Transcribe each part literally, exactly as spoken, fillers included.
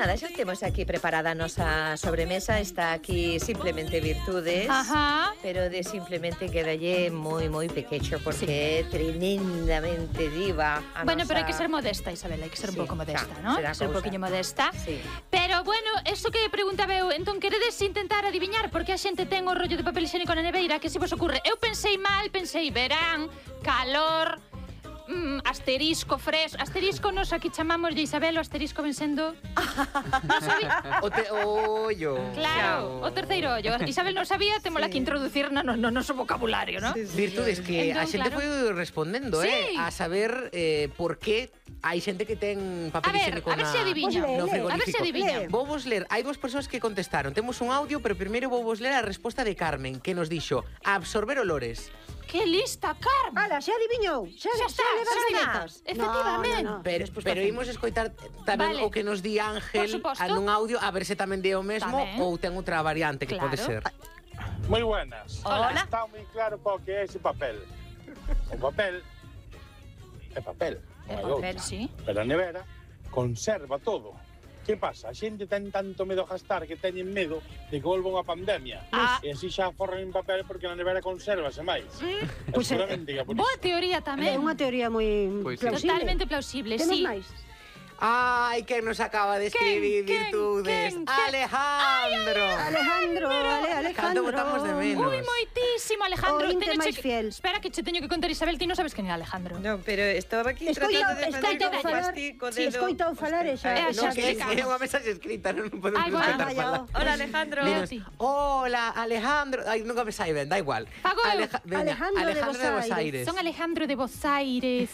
nada, xa temos aquí preparada a nosa sobremesa. Está aquí simplemente Virtudes. Ajá. Pero de simplemente quedalle moi, moi pequecho porque sí. é tremendamente diva a Bueno, nosa... pero hai que ser modesta, Isabel, hai que ser sí, un pouco modesta, xa, ¿no? Hai que ser un poquinho modesta. Sí. Pero, bueno, eso que preguntaba eu, entón queredes intentar adiviñar porque a xente ten o rollo de papel higiénico na neveira, que se vos ocurre? Eu pensei mal, pensei verán, calor... Mm, asterisco, fres, asterisco nos aquí chamamos de Isabel, o asterisco ven sendo non sabía. O te ollo. Claro, o terceiro ollo. Isabel non sabía, temola sí. que introducir no, no, no noso vocabulario, ¿no? Sí, sí, Virtudes que entón, a xente claro. foi respondendo, sí. eh, a saber eh, por que hai xente que ten papel higiénico na... A ver se adiviña. No frigorífico. A ver se adiviña. Vou vos ler, hai dúas persoas que contestaron. Temos un audio, pero primeiro vou vos ler a resposta de Carmen, que nos dixo absorber olores. Que lista, Carmen! Ala, xa adiviñou, xa, xa está, xa levas galletas. Efectivamente. No, no, no. Pero, pero imos escoitar tamén vale. o que nos di Ángel nun audio, a ver se tamén di o mesmo tamén. Ou ten outra variante que claro. pode ser. Moi buenas. Hola. Está moi claro para o que é ese papel. O papel é papel. É papel, sí. Pero a nevera conserva todo. Que pasa? A xente ten tanto medo a gastar que teñen medo de que volva unha pandemia. Ah. E así xa forran en papel porque na nevera consérvase máis. Mm. Pues seguramente é, por boa teoría tamén. É unha teoría moi pues sí. plausible. Totalmente plausible, Temos sí. máis? Ai, quen nos acaba de escribir ¿Quién? Virtudes? ¿Quién? ¿Quién? Alejandro, Alejandro. ale, Alejandro. Canto botamos de menos. Ui, moitísimo, Alejandro. O inte Teño máis che... fiel. Espera que che teño que contar, Isabel, ti non sabes quen é Alejandro. No, pero estaba aquí Escoita, tratando de facer escoita como falar, pastico si escoita o falar e xa, Eh, No, xa que é explicamos. unha mensaxe escrita, non podemos Ai, escoitar vaya, falar. Hola, Alejandro. Dinos, Ti. hola, Alejandro. Ai, nunca me sai ben, da igual. Fago eu. Aleja- veña, Alejandro de Alejandro de Bos Bos Aires. Son Alejandro de Bos Aires.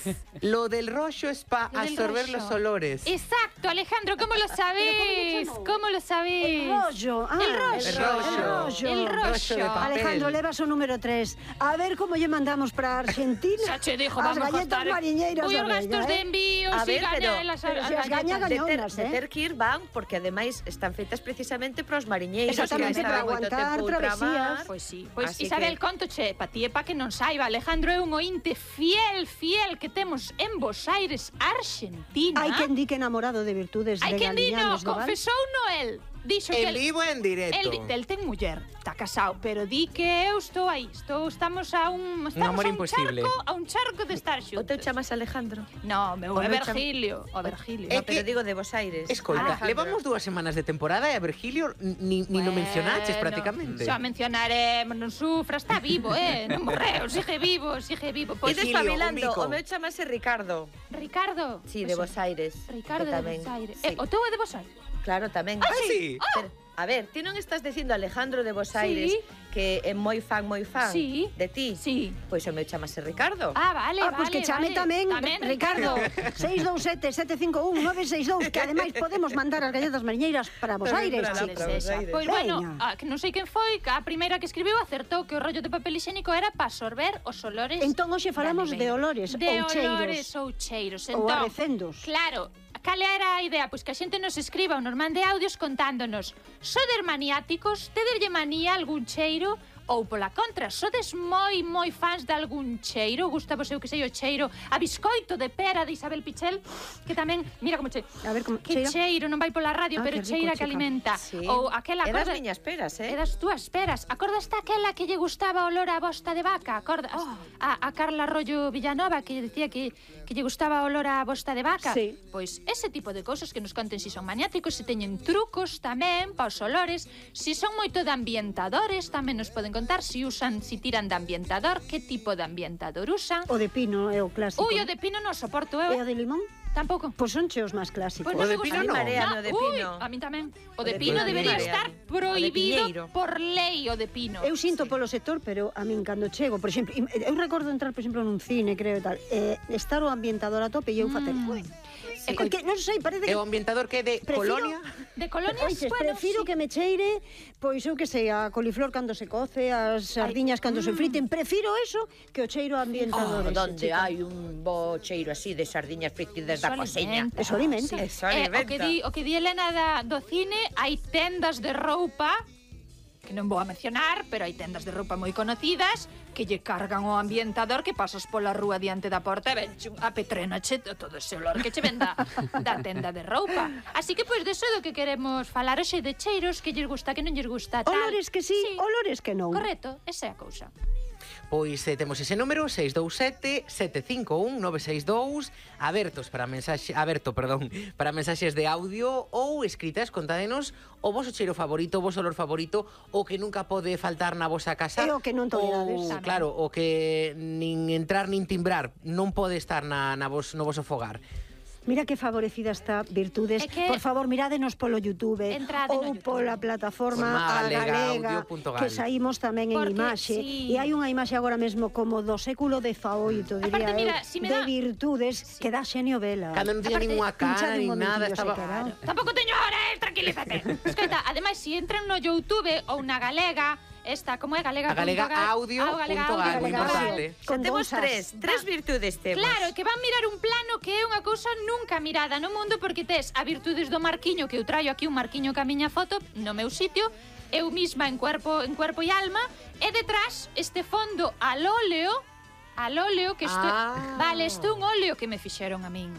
Lo del rollo es para Lo del absorber rollo. los olores. Exacto, Alejandro, ¿cómo lo sabés? ¿Cómo ¿Cómo lo sabés? El rollo, ah, El rollo. El rollo. El rollo. Rollo de papel. Alejandro, levas o número tres. A ver como lle mandamos para Argentina. Xa che dijo, as vamos a galletas gastar. mariñeiras Ui, da os gastos Bella, de eh? envío, A si ver, pero- gañan las pero as si as gaña, galletas. De ter, gañonas, de eh. ter que ir van, porque ademais están feitas precisamente para os mariñeiros. Exactamente, que para están moito aguantar tempo travesías. ultramar. Pois sí, pois Así Isabel, que- contoche, pa ti e pa que non saiba, Alejandro é un ointe fiel, fiel que temos en Bos Aires, Argentina. Hai quen di que enamorado de Virtudes Hai de quen di no, Galiñanes do Val. confesou Noel. Dixo que En el, vivo en directo. el, el ten muller, está casado, pero di que eu estou aí, estou, estamos a un, estamos amor a un imposible. charco, a un charco de estar O teu xuntos. chamas Alejandro? No, meu O é meu cham- Virgilio, o Virgilio. É No, pero que- digo de Bos Aires. Escolta, Alejandro. levamos dúas semanas de temporada e a Virgilio ni, ni no mencionaches prácticamente. Xa mencionaremos, non sufra, está vivo, eh, non morreu, sigue vivo, sigue vivo. E Pois, Virgilio, despabilando, un mico. o meu chamase Ricardo. Ricardo. Sí, de Pois Bos Aires. Ricardo que de tamén, Bos Aires. sí. Eh, o teu é de Bos Aires? Claro, tamén. Ah, sí? Pero, a ver, ti non estás dicindo Alejandro de Bos Sí. Aires que é moi fan, moi fan Sí. de ti? Sí. Pois o meu chamase Ricardo. Ah, vale, Ah, vale. pois que chame vale. tamén, Tamén, Ricardo, seis dous sete, sete cinco un, nove seis dous, que ademais podemos mandar as galletas mariñeiras para Bos Tamén Aires, para lá, chicos. para Bos Aires. Pois bueno, Veña. ah, que non sei quen foi, que a primeira que escribiu acertou que o rollo de papel higiénico era para absorber os olores. Entón, hoxe falamos da de neveira. olores de ou cheiros. olores ou cheiros. Ou Entón, arrecendos. Claro, cal era a idea? Pois que a xente nos escriba un normal de audios contándonos: sodes maniáticos, tederlle manía algún cheiro? Ou pola contra, sodes moi, moi fans de algún cheiro? Gusta vos eu que sei o cheiro a biscoito de pera de Isabel Pichel? Que tamén, mira como che... A ver como Que cheira. cheiro, non vai pola radio, Ah, pero que rico, cheira que chica. alimenta. Sí. Ou aquela É das cosa... miñas peras, eh? É das túas peras. Acordas aquela que lle gustaba o olor a bosta de vaca? Acordas? Oh. A, a Carla Arroyo Villanova que lle dicía que, que lle gustaba o olor a bosta de vaca? Sí. Pois ese tipo de cousas que nos conten si son maniáticos, se teñen trucos tamén para os olores, si son moito de ambientadores, tamén nos poden contar si usan, si tiran de ambientador, que tipo de ambientador usan. O de pino é o clásico. Ui, o de pino non soporto E eu. o de limón? Tampouco. Pois son cheos máis clásicos. Pois O non de me pino gusta. no. Marea no de Ui, pino. a mí tamén. O O de de pino pino debería marea. estar O de prohibido piñeiro. por lei, o de pino. Eu sinto polo sector, pero a min cando chego, por exemplo, im- eu recordo entrar, por exemplo, nun cine, creo e tal, eh, estar o ambientador a tope e eu facer, Mm. ui, E é que non sei, parece É que o ambientador que é de Prefiro- Colonia? De colonias, Oiches, bueno, prefiro sí. que me cheire, pois eu que sei, a coliflor cando se coce, as sardiñas cando se friten, prefiro eso que o cheiro a ambientador. Oh, ese, donde chica. hai un bo cheiro así de sardiñas fritidas da Eso cociña. alimenta. Eso alimenta. Eso Eh, o alimenta. que di, o que di Elena da, do cine, hai tendas de roupa que non vou a mencionar, pero hai tendas de roupa moi conocidas que lle cargan o ambientador que pasas pola rúa diante da porta e ven a petrena che todo ese olor que che ven da, da tenda de roupa. Así que, pois, deso do que queremos falar hoxe, de cheiros, que lles gusta, que non lles gusta, tal. Olores que sí, sí. Olores que non. Correcto, esa é a cousa. Pois eh, temos ese número seis dous sete, sete cinco un, nove seis dous abertos para mensaxe, aberto, perdón, para mensaxes de audio ou escritas. Contádenos o voso cheiro favorito, o voso olor favorito, o que nunca pode faltar na vosa casa. E o que non tolerades. Ou, claro, o que nin entrar nin timbrar non pode estar na, na vos, no voso fogar. Mira que favorecida está Virtudes. que... Por favor, mirádenos polo YouTube Entrade ou no YouTube. pola plataforma Forma a galega galega, audio punto gal. que saímos tamén en Porque, imaxe. sí. E hai unha imaxe agora mesmo como do século dezaoito, diría Aparte, mira, eu, si me de da- Virtudes, que dá xenio vela. Cando non tiña Aparte, ninguna cara pinchade nin un nada, momentillo, estaba... se queda. Tampouco teño hora, eh, tranquilízate. Escoita, ademais, se entran no YouTube ou na galega, esta, como é galega? A galega audio Ah, galega punto gal, audio moi punto gal. importante. Xa temos dous as. tres, tres virtudes temos. Claro, que van mirar un plano que é unha cousa nunca mirada no mundo, porque tes a virtudes do marquiño, que eu traio aquí un marquiño ca miña foto no meu sitio, eu misma en cuerpo, en cuerpo e alma, e detrás este fondo al óleo, al óleo que isto, Ah. vale, isto é un óleo que me fixeron a min.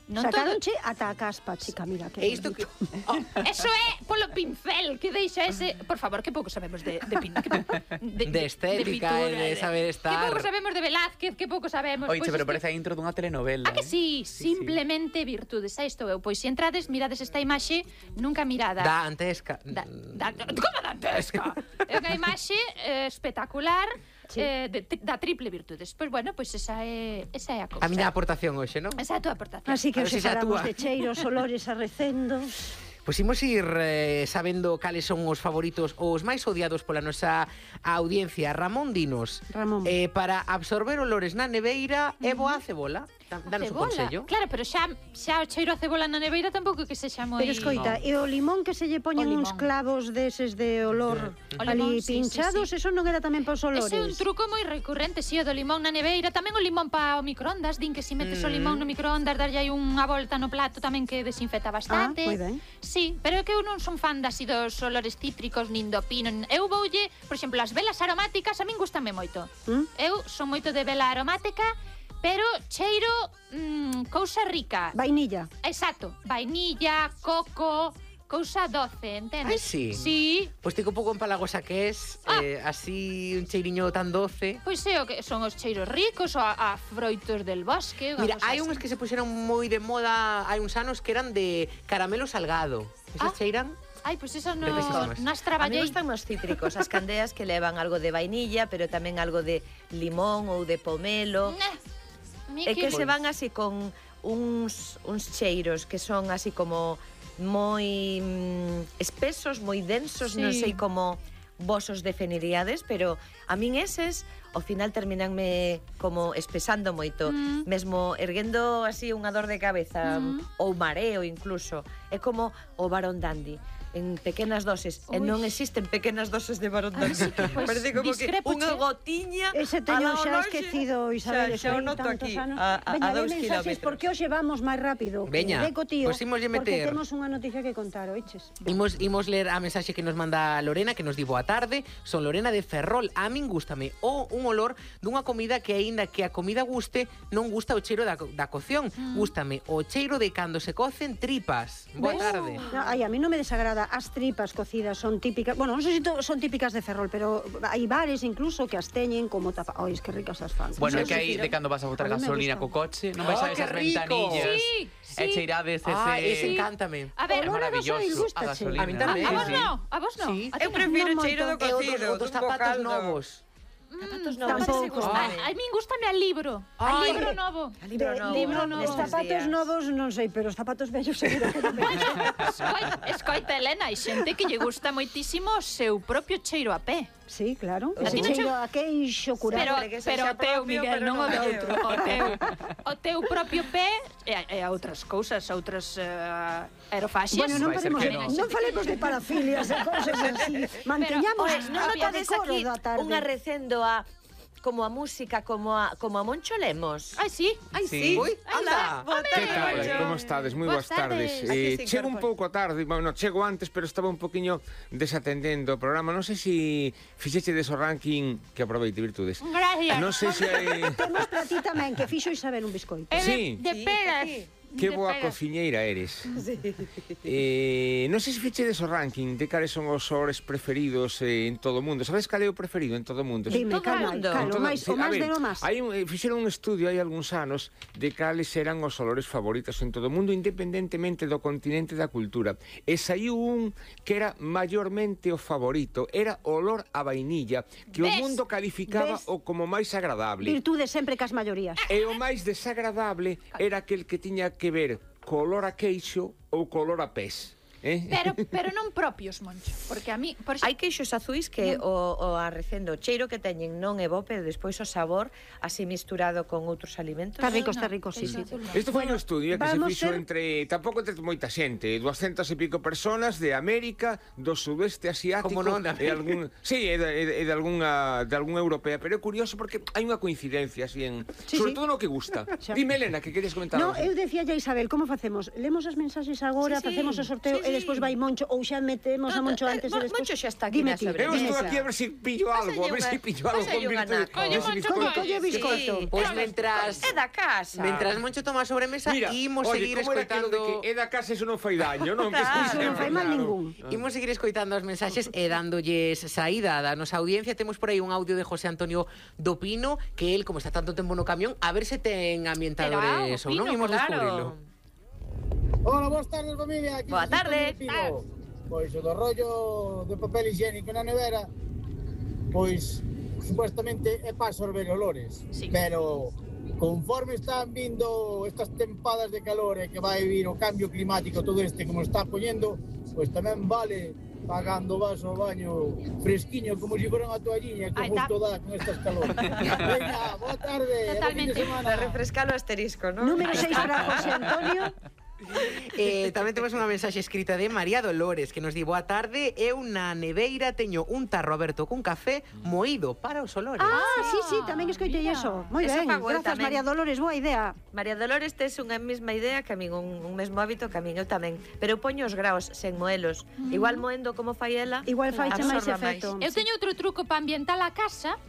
Non todo, Sacaronche ata a caspa, chica, mira que E isto que... bonito. Oh, eso é polo pincel que deixa ese, por favor, que pouco sabemos de de, pin, que, de, De estética e de saber estar. Que pouco sabemos de Velázquez, que pouco sabemos. Oiche, pois pero isto- parece a intro dunha telenovela. Ah, que eh? sí, Sí, simplemente virtudes. Aí estou eu. Pois se entrades, mirades esta imaxe nunca mirada. Da antesca. Da, da, como dantesca? É unha imaxe eh, espectacular, Sí. eh, de, da triple virtudes. Pois bueno, pois esa é, esa é a cousa. A miña aportación hoxe, non? Esa é a tua aportación. Así que A ver os se xa separamos túa. de cheiros, olores arrecendos. Pois imos ir eh, sabendo cales son os favoritos ou os máis odiados pola nosa audiencia. Ramón, dinos, Ramón. eh, para absorber olores na neveira, é boa a cebola? Da- Danos un Cebola. consello. Claro, pero xa, xa o cheiro a cebola na neveira tampouco que sexa moi... Pero escoita, e o limón que se lle poñen O uns limón. clavos deses de olor O ali limón, sí, pinchados, sí, sí. eso non era tamén para os olores. Ese é un truco moi recurrente, si, o do limón na neveira, tamén o limón pa o microondas, din que si metes o limón no microondas, darlle aí unha volta no plato tamén que desinfecta bastante. Ah, moi ben. Sí, pero é que eu non son fan de así dos olores cítricos, nin do pino. Eu voulle, por exemplo, as velas aromáticas a min gustame moito. ¿Mm? Eu son moito de vela aromática, pero cheiro mmm, cousa rica. Vainilla. Exacto, vainilla, coco, cousa doce, entendes? Ai, sí? Sí. Pois tico un pouco empalagosa que es, Ah. eh, así un cheiriño tan doce. Pois é o que son os cheiros ricos, ou a, a froitos del bosque. unha Mira, cousa hai así. unhas que se puxeron moi de moda hai uns anos que eran de caramelo salgado. Esas Ah. cheiran? Ai, pois eso no, Riquísimas. nas A mí traballei. gustan os cítricos, as candeas que levan algo de vainilla, pero tamén algo de limón ou de pomelo. Eh, a mí É que que... se van así con uns, uns cheiros que son así como moi mm, espesos, moi densos, Sí. non sei como vos os definiríades, pero a min eses ao final terminanme como espesando moito, Mm. mesmo erguendo así unha dor de cabeza Mm. ou mareo incluso. É como o Barón Dandy en pequenas doses, e Ui. non existen pequenas doses de Barón Ai, Dandy. sí que, pois, Parece como que discrepo, unha che. gotiña Ese teño ao xa lonxe. esquecido, Isabel, Xa, xa o foi noto tantos aquí, anos. a, a, Veña, a de dous mensaxes, kilómetros. porque hoxe vamos máis rápido. que Veña, Deco, tío, pois imoslle porque meter. temos unha noticia que contar, oiches. Imos, imos ler a mensaxe que nos manda Lorena, que nos di boa tarde. Son Lorena de Ferrol. A min gústame o un olor dunha comida que aínda que a comida guste, non gusta o cheiro da, co- da cocción. Mm. Gústame o cheiro de cando se cocen tripas. Boa Ves? tarde. No, ai, a mí non me desagrada. As tripas cocidas son típicas. Bueno, non sei se to- son típicas de Ferrol, pero hai bares incluso que as teñen como tapa. Ai, es que ricas as fan. Bueno, é Sí, que aí sí, de cando vas a botar A mí me gasolina gustan. co coche, non vais Oh, a que esas rico. ventanillas. Sí, sí. E cheirades ese... Ah, ese encántame. A ver, É Olor a maravilloso, gasoil, a gústache. gasolina. A mí tamén. a Sí, vos sí. no, a vos no. Sí. A ti Eu non. prefiro Non o cheiro do moito. E o cocido, dos, o dos zapatos novos. Zapatos Mm, novos. tampouco. ese gustame. A, a min gustame a libro. A Ai. libro novo. A libro De- novo. libro de- novo. de Nestes zapatos días. novos non sei, pero os zapatos vellos seguro que non me Escoita, escoita, Elena, hai xente que lle gusta moitísimo o seu propio cheiro a pé. Sí, claro. A Ese ti non cheiro a queixo curado. Pero, Sempre que pero sexa o teu, propio, Miguel, pero non o non de o meu. outro. O teu, o teu propio pé e, e a outras cousas, outras uh, aerofaxias. Bueno, non, Vai ser falemos, que de- non. non falemos de parafilias e cousas así. Manteñamos Pois, non a notades decoro aquí da tarde. unha recendo a como a música, como a, como a Moncho Lemos. Ai, sí. Ai, Sí. sí. Ui, anda. Boa Home. tarde, Que tal? Moncho. Como estades? Moi boas Boas tardes. tardes. Aquí Eh, se chego un incorpora. pouco a tarde, bueno, chego antes, pero estaba un poquinho desatendendo o programa. Non sei se fixeche deso ranking que aproveite, virtudes. Gracias. Non sei se hai... Temos para ti tamén, que fixo Isabel un biscoito. É de, Sí. de Sí, peras. aquí. Que De boa peras. cociñeira eres. Sí. Eh, non sei se fichedes o ranking de cales son os olores preferidos eh, en todo o mundo. Sabes cal é o preferido en todo o mundo? Dime, Todo calma, mundo. calma, o Todo- máis, sí, o a máis ver, de lo máis. Hai un, eh, fixeron un estudio hai algúns anos de cales eran os olores favoritos en todo o mundo, independentemente do continente e da cultura. E saiu un que era maiormente o favorito, era o olor a vainilla, que o Ves? mundo calificaba Ves? o como máis agradable. Virtude sempre cas maiorías. E o máis desagradable era aquel que tiña que ver co olor a queixo ou co olor a pés. Eh? Pero, pero non propios, Moncho. Porque a mí, por Hai queixos azuis que o, o arrecendo o cheiro que teñen non é bo, pero despois o sabor así misturado con outros alimentos. Está rico, está rico, sí, sí. Isto foi un estudio que se vamos fixo ter- entre, tampouco entre moita xente, duascentas e pico personas de América, do sudeste asiático Como non, e algún, sí, e de, e de, e de algunha de algunha europea, pero é curioso porque hai unha coincidencia así en, Sí, sobre sí. todo no que gusta. Xa. Dime, Elena, que querías comentar No, algo. eu decía ya, Isabel, como facemos? Lemos as mensaxes agora, Sí, sí. facemos o sorteo Sí, e sí. despois vai Moncho ou xa metemos a Moncho antes e Mo- despois. Moncho xa está aquí Dime na ti. sobremesa. Eu estou Mesa. aquí a ver se pillo algo, a ver unha- se pillo algo pásale con unha virtude. naco. Oye, Ese Moncho, bizcocho. Colle, colle biscoito. Sí. Pois mentras... É da casa. Mentras Moncho toma a sobremesa, Mira, imos oye, seguir como era aquilo de escoitando... que é da casa, eso non fai daño, non? Que Claro. sí, Non fai mal claro. ningún. Imos seguir escoitando as mensaxes e dándolles saída da nosa audiencia. Temos por aí un audio de José Antonio do Pino, que el, como está tanto tempo no camión, a ver se ten ambientadores Pero, ou non, Pino, imos claro. descubrirlo. Hola, boas tardes, familia. Aquí Boa José tarde. Antonio Pino. Pois o do rollo de papel higiénico na nevera, pois supuestamente é para absorber olores, Sí. pero conforme están vindo estas tempadas de calor e que vai vir o cambio climático todo este como está poñendo, pois tamén vale pagando vas ao baño fresquiño como se si fora unha toalliña que Aí tá. justo dá con estas calores. Veña, boa tarde, e bo fin de Totalmente. semana. Para refrescar o asterisco, non? Número seis para José Antonio. Eh, tamén temos unha mensaxe escrita de María Dolores que nos di: boa tarde, eu na neveira teño un tarro aberto cun café moído para os olores. Ah, sí, sí, tamén escoitei mira. eso. Moi Eso ben, fago eu grazas tamén. María Dolores, boa idea. María Dolores tes unha mesma idea que a min, un, un mesmo hábito que a min, eu tamén. Pero eu poño os graos sen moelos. Igual moendo como fai ela, Igual faiche máis absorba efecto. Eu teño outro truco para ambientar a casa,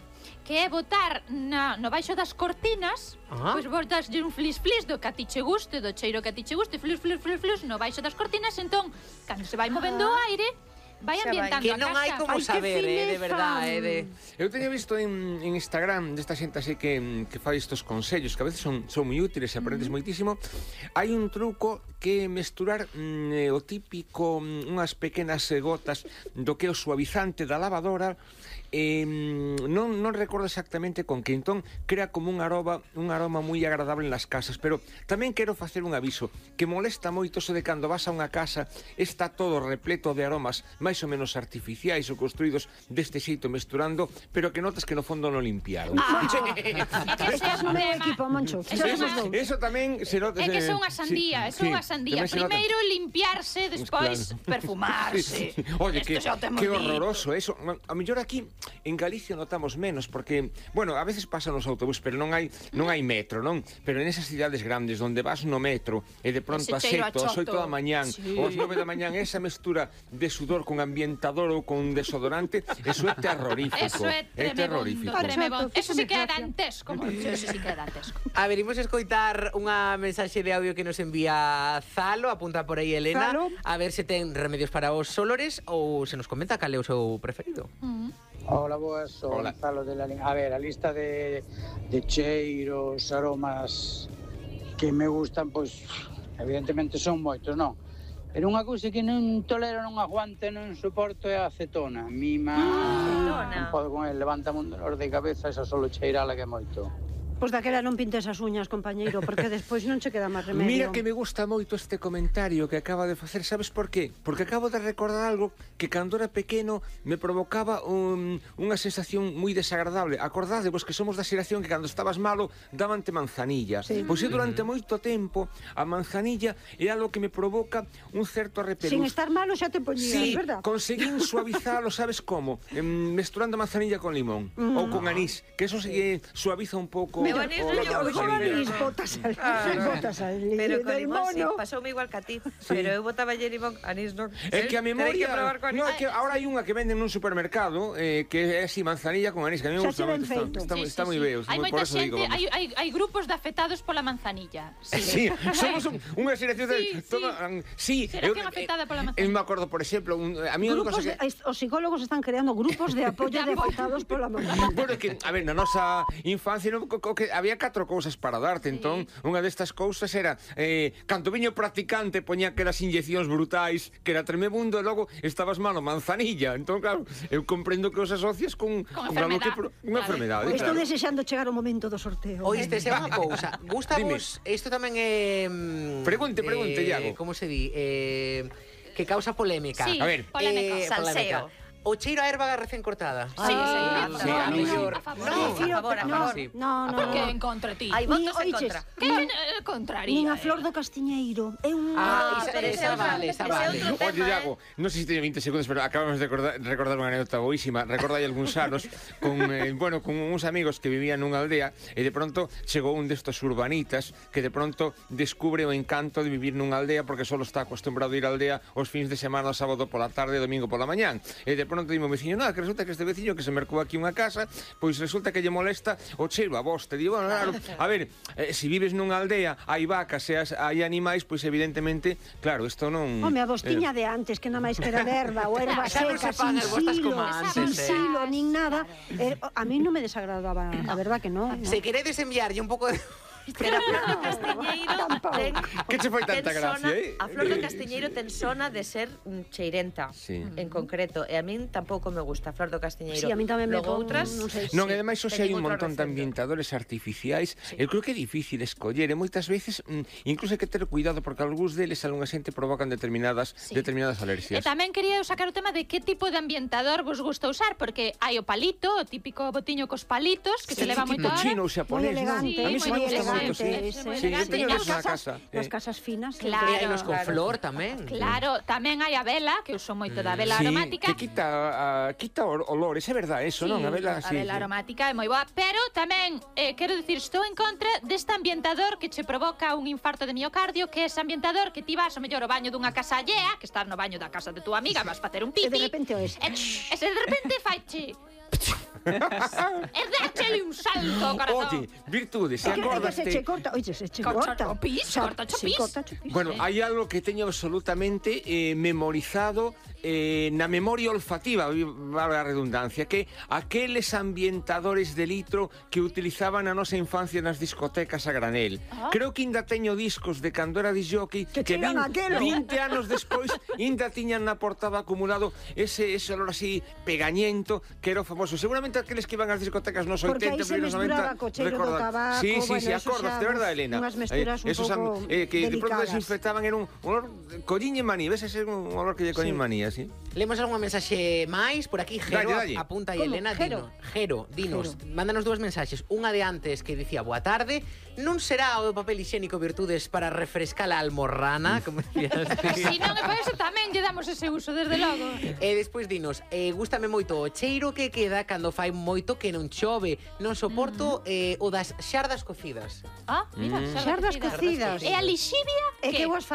que é botar na, no baixo das cortinas, Ah. pois botaslle un flis-flis do que a ti che guste, do cheiro que a ti che guste, flis, flis, flis, flis, no baixo das cortinas, entón, cando se vai movendo o aire, vai Xa vai. ambientando Que a non casa. hai como Ai, que saber, eh, de fineza. verdade, eh, de... Eu teño visto en, en Instagram desta xente así que, que fai estos consellos que a veces son, son moi útiles e aprendes moitísimo. Hai un truco que é mesturar mm, o típico, mm, unhas pequenas eh, gotas do que é o suavizante da lavadora. Eh, non, non recordo exactamente con que, entón crea como un aroma un aroma moi agradable nas casas, pero tamén quero facer un aviso que molesta moito eso de cando vas a unha casa está todo repleto de aromas máis ou menos artificiais ou construídos deste xeito mesturando, pero que notas que no fondo non limpiaron. Ah, é que ese é No un meu tema. equipo, Moncho. Eso Xa é somos unha- dous. Eso tamén se nota. É que se- son unha sandía, é sí, unha sí, sandía. tamén se nota. Primeiro limpiarse, despois Claro. perfumarse. Sí, sí. Oye, Esto que, xa o temos que dito. horroroso eso. A mellor aquí en Galicia notamos menos porque, bueno, a veces pasan os autobús, pero non hai non hai metro, non? Pero en esas cidades grandes onde vas no metro e de pronto a Ese cheiro a sete, ás oito choto. da mañán, Sí. ou ás nove da mañán, esa mestura de sudor con ambientador ou con desodorante, eso é terrorífico. Eso é é terrorífico. tremendo, tremendo. Choto, Eso sí que é fíxame dantesco, Moncho, eso sí que é dantesco. A ver, imos escoitar unha mensaxe de audio que nos envía Zalo, apunta por aí Elena, Zalo. a ver se ten remedios para os olores ou se nos comenta cal é o seu preferido. Hola, boas, son Hola. Gonzalo de la Lin- A ver, a lista de, de cheiros, aromas que me gustan, pois, evidentemente son moitos, non? Pero unha cousa que non tolero, non aguante, non soporto é a acetona. Mima, acetona. non podo con el, levanta un dolor de cabeza, esa solo cheirala que é moito. Pois daquela non pintes as uñas, compañeiro, porque despois non che queda máis remedio. Mira que me gusta moito este comentario que acaba de facer, sabes por qué? Porque acabo de recordar algo que cando era pequeno me provocaba un, unha sensación moi desagradable. Acordadevos que somos da xeración que cando estabas malo davante manzanilla. Sí. Pois eu durante moito tempo a manzanilla é algo que me provoca un certo repelús. Sin estar malo xa te poñías, sí, verdad? Conseguín suavizalo, sabes como? Em, mesturando manzanilla con limón mm. ou con anís, que eso eh, suaviza un pouco. Meu anís non lle Con anís botas al botas al Pero con del limón, sí, mono. pasoume igual que a ti. Pero eu botaba lle limón, anís non. É que a memoria... Que no, é que ahora hai unha que venden nun supermercado eh, que é así manzanilla con anís, que a mí me gusta moito. Está, está, sí, está sí, moi sí. veo. Hai moita xente, hai, hai, hai grupos de afectados pola manzanilla. Sí, sí somos un, unha xeración de... Sí, toda, sí. Xeración afectada pola manzanilla. Eu me acordo, por exemplo, un, a mí Grupos que... de, os psicólogos están creando grupos de apoio de afectados pola manzanilla. Bueno, é que, a ver, na nosa infancia no, co, co, que había catro cousas para darte, entón, unha destas cousas era eh, canto viño practicante poñía aquelas inyeccións brutais que era tremebundo e logo estabas malo manzanilla, entón, claro, eu comprendo que os asocias con, con, con algo que pro, unha enfermedade, Estou claro. desexando chegar o momento do sorteo. Oíste, se unha cousa, gustamos, isto tamén é... Pregunte, pregunte, eh, Iago. Como se di? Eh, que causa polémica. Sí, a ver, polémica. Eh, Salseo. O cheiro a erva recén cortada. Sí, Ah, sí, sí, a no, mellor. a favor. No, Prefiro- a favor, a no, favor. sí. no, no, Por que no. en contra ti? Hai votos en oiches, contra. Que eh, contraría? Nin a flor do castiñeiro. É un... Ah, esa, pero ese esa é outro- vale, esa ese é vale. outro Oye, tema, Iago, non sei se teño veinte segundos, pero acabamos de recordar, recordar unha anécdota boísima. Recordai algúns anos con, eh, bueno, con uns amigos que vivían nunha aldea e de pronto chegou un destos urbanitas que de pronto descubre o encanto de vivir nunha aldea porque só está acostumbrado a ir á aldea os fins de semana, o sábado pola tarde e domingo pola mañán. E de pronto dimo veciño, nada, que resulta que este veciño que se mercou aquí unha casa, pois resulta que lle molesta o cheiro a bosta. Digo, bueno, claro, a ver, eh, se vives nunha aldea, hai vacas e as, hai animais, pois evidentemente, claro, isto non... Home, a bostiña de antes, que nada máis que era de erva ou erva Xa non seca, se fan sin as bostas silo, como antes, sin eh. silo, nin nada. Eh, a mí non me desagradaba, a verdad que non. Se queredes enviarlle un pouco de... Pero a flor do castiñeiro ten... Que che foi tanta ten gracia, sona, eh? A flor do castiñeiro ten sona de ser mm, cheirenta, Sí. en concreto. E a min tampouco me gusta a flor do castiñeiro. Sí, a min tamén me Logo pon, outras... non sei. Non, sí, e ademais hoxe hai teñen un outro montón de recinto. ambientadores artificiais. Eu creo que é difícil escoller, e moitas veces mm, incluso hai que ter cuidado porque algúns deles algunha xente provocan determinadas Sí. determinadas E alerxias. tamén quería eu sacar o tema de que tipo de ambientador vos gusta usar, porque hai o palito, o típico botiño cos palitos, que se leva moito tipo ahora. chino ou xaponés, Moi non? elegante, A mí sí, se me moi gusta moito, elegante, sí. ese, moi Sí, eu elegante. teño E deses nas na casas, casa. nas eh. casas finas. Claro. E hai unos con claro. flor tamén. Claro, tamén hai a vela, que uso moito da vela Sí, aromática. que quita, a, quita o- olores, é verdade, eso, non? A vela, a sí, vela sí. aromática é moi boa, pero tamén eh, quero dicir, estou en contra deste ambientador que che provoca un infarto de miocardio, que é ese ambientador que ti vas ao mellor ao baño dunha casa allea, que estás no baño da casa de tua amiga, vas facer un pipi. E de repente o ese. E, e se de repente faiche e déchele un salto ao corazón. Oye, virtude, se É que, é que acordaste... se che corta, oye, se che Corta corta. o pis, Xa- corta o sí, pis. corta o pis. Bueno, hai algo que teño absolutamente eh, memorizado eh, na memoria olfativa, vale a redundancia, que aqueles ambientadores de litro que utilizaban na nosa infancia nas discotecas a granel. Ah. Creo que ainda teño discos de cando era disjockey Que que cheiran vin- aquelo. vinte anos despois ainda tiñan na portada acumulado ese, ese olor así pegañento que era o famoso. Seguramente aqueles que iban ás discotecas nos Porque aí oitenta, se primeros mesturaba noventa co cheiro do recordan. tabaco, Sí, sí, bueno, sí, eso acordas, xa de verdade, uns- Elena. unhas mesturas un esos am- pouco eh, que de pronto delicadas. desinfectaban era un olor colliñe manía, ves ese un olor que lle colliñe Sí. manía, sí. Lemos algunha mensaxe máis por aquí, Jero, Dalle, dalle. apunta aí Como? Elena, Jero? dino, Jero, dinos, Jero. mándanos dúas mensaxes, unha de antes que dicía boa tarde, non será o do papel higiénico virtudes para refrescar a almorrana, como decías. Si non, e por eso tamén lle damos ese uso, desde logo. E despois dinos, eh, gústame moito o cheiro que queda cando fai moito que non chove. Non soporto eh, o das xardas cocidas. Ah, mira, Mm. Xardas cocidas. cocidas. E a lixivia, É que que? eu as